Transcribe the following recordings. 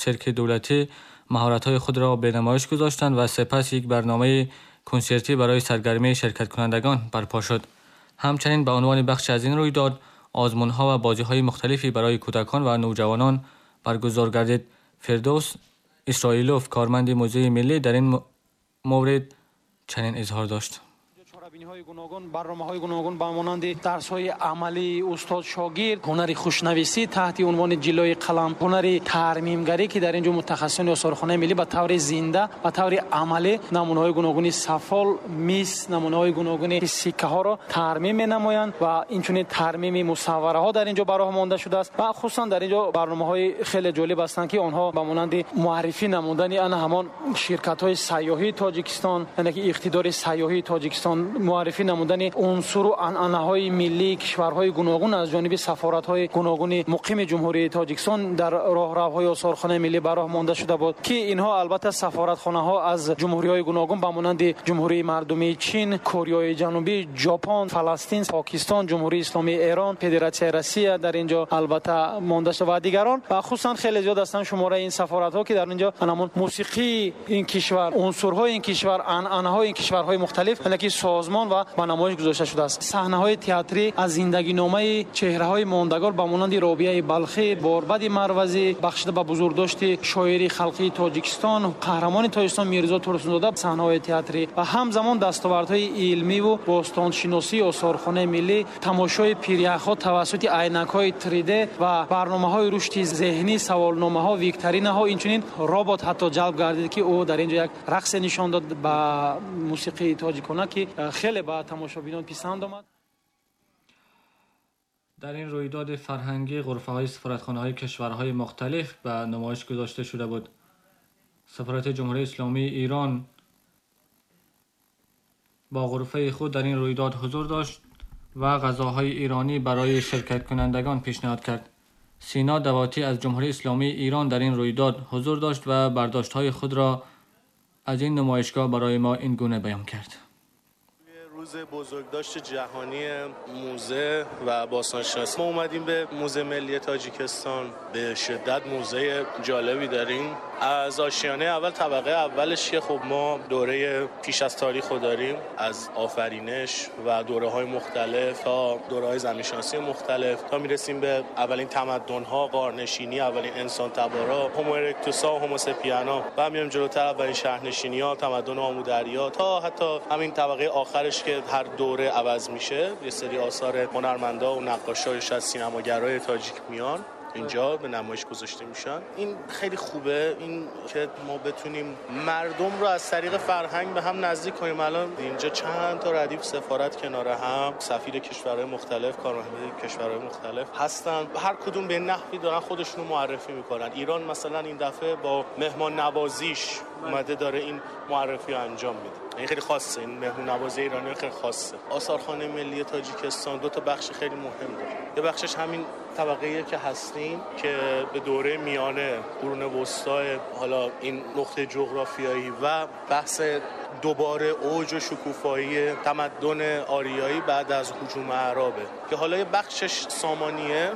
سیرک دولتی مهارت‌های خود را به نمایش گذاشتند و سپس یک برنامه کنسرتی برای سرگرمی شرکت کنندگان برپا شد. همچنین به عنوان بخشی از این رویداد، آزمون‌ها و بازی‌های مختلفی برای کودکان و نوجوانان برگزار گردید. فردوس اسرائیلوف، کارمند موزه ملی، در این مورد چنین اظهار داشت: чорабиниҳои гуногун, барномаҳои гуногун ба монанди дарсҳои амалии устод-шогирд, ҳунари хушнависӣ таҳти унвони ҷиллои қалам, ҳунари тармимгарӣ, ки дар ин ҷо мутахассисони осорхонаи миллӣ ба таври зинда, ба таври амалӣ намунаҳои гуногуни сафол, мис, намунаҳои гуногуни сиккаҳоро тармим менамоянд ва инчунин тармими мусаввараҳо дар ин ҷо ба роҳ монда шудааст. Ва хусусан дар ин ҷо барномаҳои хеле ҷолиб ҳастанд, ки онҳо ба монанди муаррифӣ намудани ана ҳамон ширкатҳои сайёҳии Тоҷикистон, яъне ки иқтидори сайёҳии Тоҷикистон, муаррифӣ намудани унсуру анъанаҳои миллии кишварҳои гуногун аз ҷониби сафоратҳои гуногуни муқими Ҷумҳурии Тоҷикистон дар роҳравҳои осорхонаи миллӣ ба роҳ монда шуда буд, ки инҳо албатта сафоратхонаҳо аз ҷумҳуриҳои гуногун ба монанди Ҷумҳурии Мардумии Чин, Кореяи Ҷанубӣ, Ҷопон, Фаластин, Покистон, Ҷумҳурии Исломии Эрон, Федератсияи Россия дар ин ҷо албатта монда шуда ва дигарон. Ва хусусан хеле зиёд ҳастанд шумораи ин сафоратҳо, ки дар ин ҷо ҳамон мусиқии ин кишвар, унсурҳои ин кишвар, анъанаҳои ин кишварҳои мухталиф, яъне ки созмон ва ба намоиш гузошта шудааст. Саҳнаҳои театрӣ аз зиндагиномаи чеҳраҳои мондагор ба монанди Робияи Балхӣ, Борбади Марвазӣ, бахшида ба бузургдошти шоири халқии Тоҷикистон, қаҳрамони Тоҷикистон Мирзо Турсунзода, саҳнаҳои театрӣ ва ҳамзамон дастовардҳои илмиву бостоншиносии осорхонаи миллӣ, тамошои пиряхҳо тавассути айнакҳои 3D ва барномаҳои рушди зеҳнӣ, саволномаҳо, викторинаҳо, инчунин робот ҳатто ҷалб гардид, ки ӯ дар ин ҷо як рақсе нишон дод ба мусиқии тоҷикона, ки хеле ба тамошобинон писанд омад. در این رویداد فرهنگی غرفه‌های سفارتخانه‌های کشورهای مختلف به نمایش گذاشته شده بود. سفارت جمهوری اسلامی ایران با غرفه خود در این رویداد حضور داشت و غذاهای ایرانی برای شرکت کنندگان پیشنهاد کرد. سینا دواتی از جمهوری اسلامی ایران در این رویداد حضور داشت و برداشت‌های خود را از این نمایشگاه برای ما این گونه بیان کرد. روز بزرگداشت جهانی موزه و باستانشناسی ما اومدیم به موزه ملی تاجیکستان. به شدت موزه جالبی داریم. از آشیانه اول، طبقه اولش که خب ما دوره پیش از تاریخ رو داریم، از آفرینش و دوره‌های مختلف تا دوره‌های زمینشناسی مختلف تا میرسیم به اولین تمدن‌ها، غارنشینی، اولین انسان تبارا، هومو ارکتوسا، هومو سپیانا و میایم جلوتر اولین شهرنشینی‌ها، تمدن آمودریا تا حتی همین طبقه آخرش که هر دوره عوض میشه، یه سری آثار هنرمندا و نقاشا و سینماگرای تاجیک میان اینجا به نمایش گذاشته میشن. این خیلی خوبه، این که ما بتونیم مردم رو از طریق فرهنگ به هم نزدیک کنیم. الان اینجا چند تا ردیف سفارت کنار هم، سفیر کشورهای مختلف، کارمندای کشورهای مختلف هستن، هر کدوم به نحوی دارن خودشون رو معرفی میکنن. ایران مثلا این دفعه با مهمان نوازیش اومده داره این معرفی رو انجام میده. این خیلی خاصه، این مهمون نوازی ایرانی خیلی خاصه. آثارخانه ملی تاجیکستان دو تا بخش خیلی مهم داره. یه بخشش همین طبقه‌ای که هستیم که به دوره میانه، قرون وسطای، حالا این نقطه جغرافیایی و بحث دوباره اوج و شکوفایی تمدن آریایی بعد از هجوم اعرابه که حالا یه بخشش سامانیه.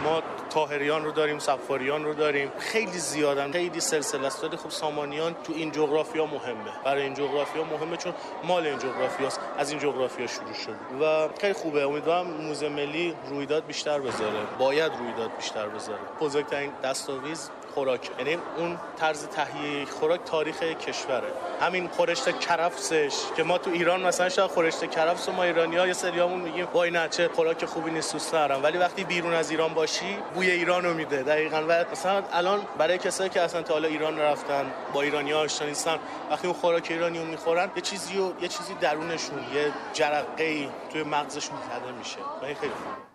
ما طاهریان رو داریم، صفاریان رو داریم، خیلی زیادن، خیلی سلسله است. ولی خب سامانیان تو این جغرافیا مهمه، برای این جغرافیا مهمه چون مال این جغرافیاست، از این جغرافیا شروع شد و خیلی خوبه. امیدوارم موزه ملی رویداد بیشتر بذاره، باید رویداد بیشتر بذاره. بزرگترین دستاویز خوراک، یعنی اون طرز تهیه خوراک تاریخ کشوره. همین خورشت کرفسش که ما تو ایران مثلا شاید خورشت کرفس ما ایرانی‌ها یه سریامون میگیم وای نه چه خوراک خوبی نیست، دوست ندارم، ولی وقتی بیرون از ایران باشی بوی ایرانو میده. دقیقاً. و مثلا الان برای کسایی که اصلا تا حالا ایران نرفتن، با ایرانی‌ها آشنا نیستن، وقتی اون خوراک ایرانیو میخورن یه چیزی درونشون، یه جرقه‌ای توی مغزشون زده میشه و این خیلی خوبه.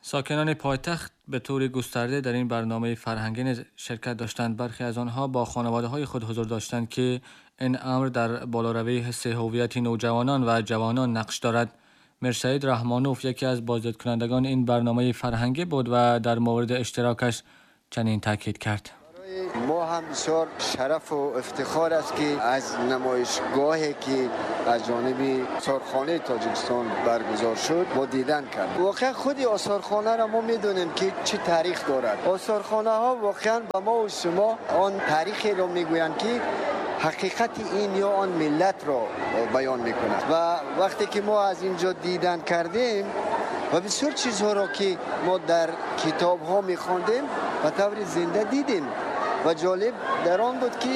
ساکنان پایتخت به طور گسترده در این برنامه فرهنگی نیز شرکت داشتند. برخی از آنها با خانواده‌های خود حضور داشتند که این امر در بالاروی حس هویت نوجوانان و جوانان نقش دارد. میرسعید رحمانوف یکی از بازدیدکنندگان این برنامه فرهنگی بود و در مورد اشتراکش چنین تاکید کرد. ما هم بسیار شرف و افتخار است که از نمایشگاهی که از جانب آثارخانه تاجیکستان برگزار شد ما دیدن کرد. واقعا خود آثارخانه را ما میدونیم که چه تاریخ دارد. آثارخانه ها واقعا به ما و شما آن تاریخی را میگویند که حقیقت این یا آن ملت را بیان میکند و وقتی که ما از اینجا دیدن کردیم و بسیار چیزها را که ما در کتاب ها میخواندیم به طور زنده دیدیم و جالب در آن بود که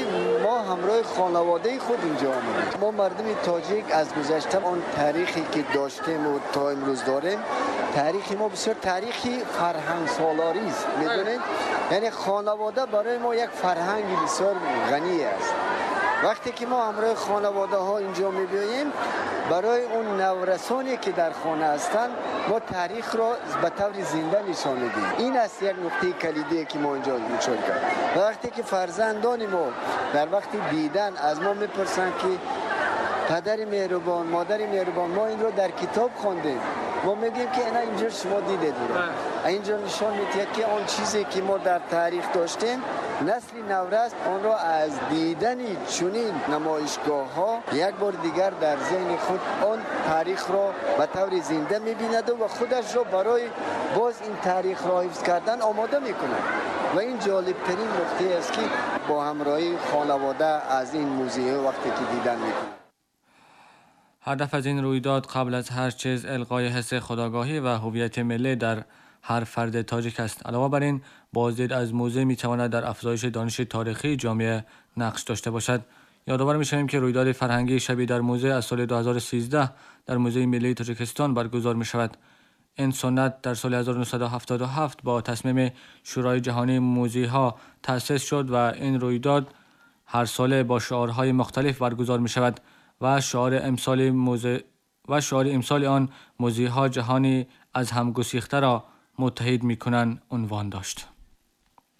ما همراه خانواده خود اینجا آمدیم. ما مردم تاجیک از گذشته آن تاریخی که داشتیم و تا امروز داریم، تاریخ ما بسیار تاریخی فرهنگ سالاری است. میدونید، یعنی خانواده برای ما یک فرهنگ بسیار غنی است. وقتی که ما همراه خانواده ها اینجا میبیاییم، برای اون نورسانی که در خانه هستند ما تاریخ را به طور زنده نشان میدیم. این است یک نقطه کلیدی که ما اینجا مشاهده کردیم. و وقتی که فرزندان ما در وقت دیدن از ما میپرسند که پدر مهربان، مادر مهربان، ما این رو در کتاب خواندیم، ما میگیم که اینا اینجا شما دیدید، اینجا نشان میدهد که آن چیزی که ما در تاریخ داشتیم نسل نورس آن را از دیدن چنین نمایشگاه ها یک بار دیگر در ذهن خود آن تاریخ را به طور زنده میبیند و خودش را برای باز این تاریخ را حفظ کردن آماده میکند. و این جالب ترین نکته است که با همراهی خانواده از این موزه وقتی که دیدن میکنند. هدف از این رویداد قبل از هر چیز القای حس خودآگاهی و هویت ملی در هر فرد تاجیک است. علاوه بر این، بازدید از موزه می تواند در افزایش دانش تاریخی جامعه نقش داشته باشد. یادآور می‌شویم که رویداد فرهنگی شبی در موزه از سال 2013 در موزه ملی تاجیکستان برگزار می شود. این سنت در سال 1977 با تصمیم شورای جهانی موزه ها تأسیس شد و این رویداد هر ساله با شعارهای مختلف برگزار می شود و شعار امسال آن موزه ها جهانی از هم گسیخته را متحد می کنند عنوان داشت.